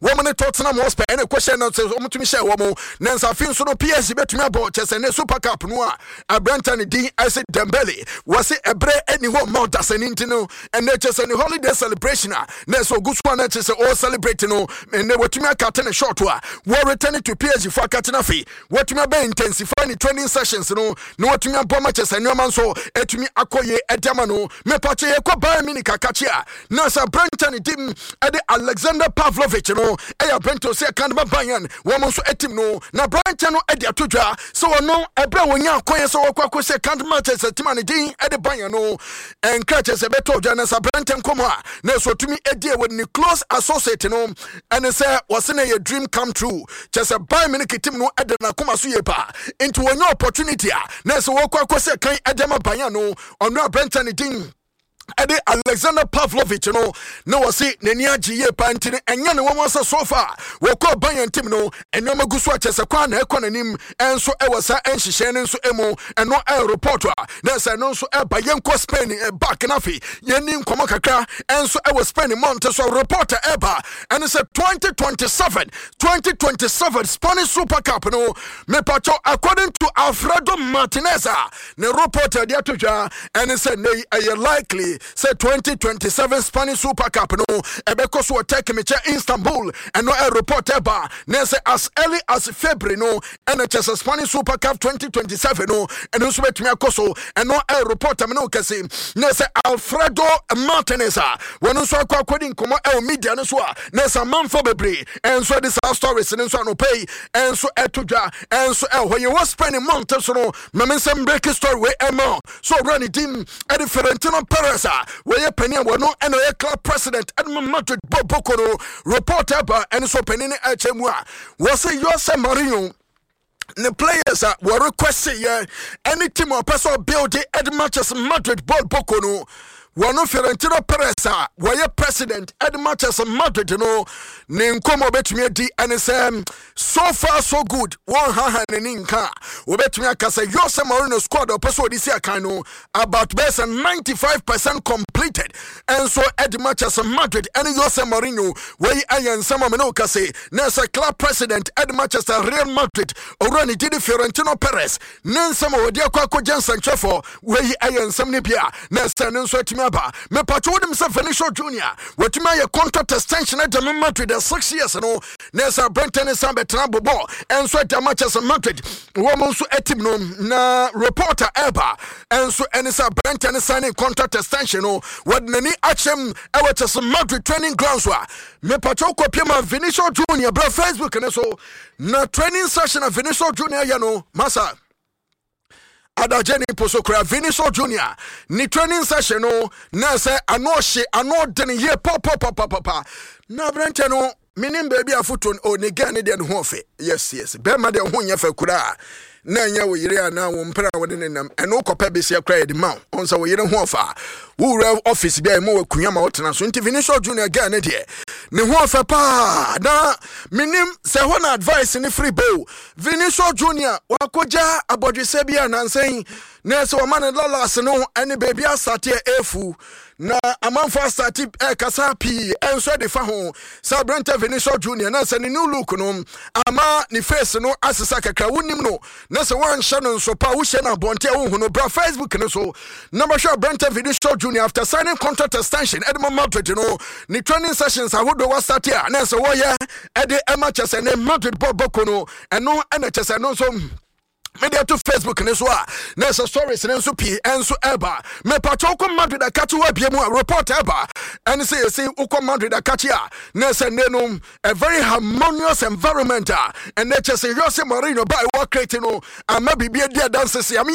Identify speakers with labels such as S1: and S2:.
S1: Wɔn ne Tottenham Hotspur ɛna ɛkɔhyɛ no sɛ wɔn tumi hyɛ wɔn na nsafe nso no PSG bɛtumi abɔ kyɛ sɛ ne Super Cup no a aberanta ne din ɛsɛ Dembele wɔse ɛberɛ ɛni hɔ mma ɔdasani nti no ɛnɛ kyɛ sɛ ne holiday celebration a na ɛsɛ ogu so a na kyɛ sɛ ɔwɔ celebrate no ɛnɛ wɔtumi akate ne short a wɔ return to PSG fo akate no afei wɔtumi abɛ intensify ne training sessions no na wɔtumi abɔ ma kyɛ sɛ nneɛma nso ɛtumi akɔ yie ɛde ama no. Mepatwe yɛkɔ Bayern Munich akakye a na sɛ aberantɛ ne dim ɛde Alexander Pavlovich no ɛyɛ aberantɛ ɔsɛ ɛka de ma Bayern wɔn nso ɛtim no na aberantɛ no ɛde ato dwa sɛ ɔno ɛberɛ a wɔnya akɔyɛ sɛ wɔkɔ akɔ sɛ ɛka de ma kyɛ sɛ tim a ne din ɛde Bayern no ɛnkra kyɛ sɛ ɛbɛtɔ dwa na sɛ aberantɛ nkɔmmɔ a na ɛsɛ ɔtumi ɛdi ɛwɔ ne close associate no ɛne sɛ wɔse na ɛyɛ dream come true kyɛ sɛ Bayern Munich tim no ɛde n'akoma so yie paa nti wɔnya opportunity a na ɛsɛ wɔkɔ akɔ sɛ kan ɛde ma Bayern no. Ɔno aberantɛ ne din ɛde Alexander Pavlovich no na wɔse n'ani agye yie paa nti no ɛnyɛ ne wɔn sɛ so far wɔkɔ Bayern team no nneɛma gu so akyɛ sɛ kwan na ɛkɔ n'anim ɛnso ɛwɔ saa nhyehyɛe no nso mu. Ɛno ɛyɛ report a na ɛsɛ ɛno nso ɛba. Yɛnkɔ Spain back na afei yɛni nkɔmmɔ kakra ɛnso ɛwɔ Spain mmɔnte so. Report a ɛba ɛne sɛ 2027 Spanish Super Cup no, mepatwɔ, according to Alfredo Martinez a ne report a ɛde ato dwa ɛne sɛ nnɛ yi ɛyɛ likely sɛ 2027 Spanish Super Cup no ɛbɛkɔ so wɔ Turkey, mekyɛ Istanbul. Ɛno ɛ report ɛba na sɛ as early as February no ɛna kyɛ sɛ Spanish Super Cup 2027 no ɛno nso bɛtumi akɔ so. Ɛno ɛ report ɛmene wo kɛse na sɛ Alfredo Martinez a wɔn nso akɔ akɔdi nkɔmmɔ ɛwɔ media no so a na sɛ amanfo bebree ɛnso ɛde saa stories no nso anɔpa yi ɛnso ɛto dwa ɛnso ɛwɔ hɔ. Yɛwɔ Spain mmɔnte so no, ma me nsɛm break story wei ɛma so ɔwura ne din ɛde Florentino Perez a wɔyɛ panin a wɔno ɛna ɔyɛ club president ɛde ma Madrid bɔ boko no. Report ɛba ɛne so panin no ɛkyɛ mu a wɔsɛ Jose Mourinho ne players a wɔ request yɛ ɛne team a ɔpɛ sɛ ɔbuild ɛde matches Madrid ball boko no. Wɔno Florentino Perez a wɔyɛ president ɛde matches Madrid no ne nkɔmmɔ ɔbɛtumi adi ɛne sɛ so far so good. Wɔn haha n'ani nka a wɔbɛtumi aka sɛ Jose Mourinho squad ɔpɛ sɛ ɔde si akan no about bɛyɛ sɛ 95% completed ɛnso ɛde matches Madrid ɛne Jose Mourinho. Wɔyi ayɛ nsɛm a mene wo kase na ɛsɛ club president ɛde Manchester Real Madrid owura ne didi Florentino Perez ne nsɛm a wɔde akɔ akɔgye nsɛnkyerɛfoɔ. Wɔyi ayɛ nsɛm no bi a na ɛsɛ no nso atumi aba. Mepatwo, wonim sɛ Vinicius Junior watumi ayɛ contract extension agya me Madrid 6 years no na ɛsɛ aberɛntɛ ne san bɛtena bobɔ ɛnso agya Manchester Madrid wɔn nso atim no. Na reporter ɛba ɛnso ɛne sɛ aberɛntɛ ne signing contract extension no wɔde n'ani akyɛm ɛwɔ kyɛ Madrid training ground so a mepatwo kɔpie ma Vinicius Junior brɛ Facebook ne so na training session a Vinicius Junior yɛ no masa adagye ne po so kora. Vinicius Junior ne training session no na sɛ ano ɔhye, ano ɔdene yie papapapapa na aberɛnkyɛ no menim baabi afoto o ne gɛ ne deɛ ne ho ɔfɛ. Yes, bɛrima deɛ ho nyɛ fɛ koraa na ɛnyɛ wo yere anaa wo mpere a wode ne nam ɛno kɔpɛ besia koraa yɛde ma wo. Ɔn sɛ wo yere ho ɔfa a wowura office bi a ɛma wakonnwa ma wotena so. Nti Vinicius Junior gɛ ne deɛ ne ho ɔfɛ paa na menim sɛ hɔ na advice ne firi bo. Vinicius Junior wakɔgya abɔdwesɛ bi a nansɛn na ɛsɛ wɔma ne lalas no ne baabi asateɛ ɛfu na amanfo asate ɛkasa pii ɛnso de fa ho sɛ aberantɛ Vinicius Junior na sɛ ne new look no ama ne face no asesa kakra. Wonim no na sɛ woanhyɛ no nso pa wohyɛ no abɔnte a wohu no. Bra Facebook no so na bɛhwɛ aberantɛ Vinicius Junior after signing contract extension ɛde ma Madrid no ne training sessions ahodoɔ wasate a na sɛ wɔyɛ ɛde ɛma kyɛ sɛ ne Madrid bɔ bɔko no. Ɛno ɛna kyɛ sɛ ɛno nso mede ato Facebook ne so a na ɛsɛ stories ne nso pii ɛnso ɛba. Mepatwa wokɔ Madrid akakye wɔ abie mu a report ɛba ɛne sɛ yɛsɛ wokɔ Madrid akakye a na ɛsɛ nne no a very harmonious environment a ɛnɛ kyɛ sɛ Jose Mourinho ba ɛwɔ create no ama biribi adi adanse sɛ ame.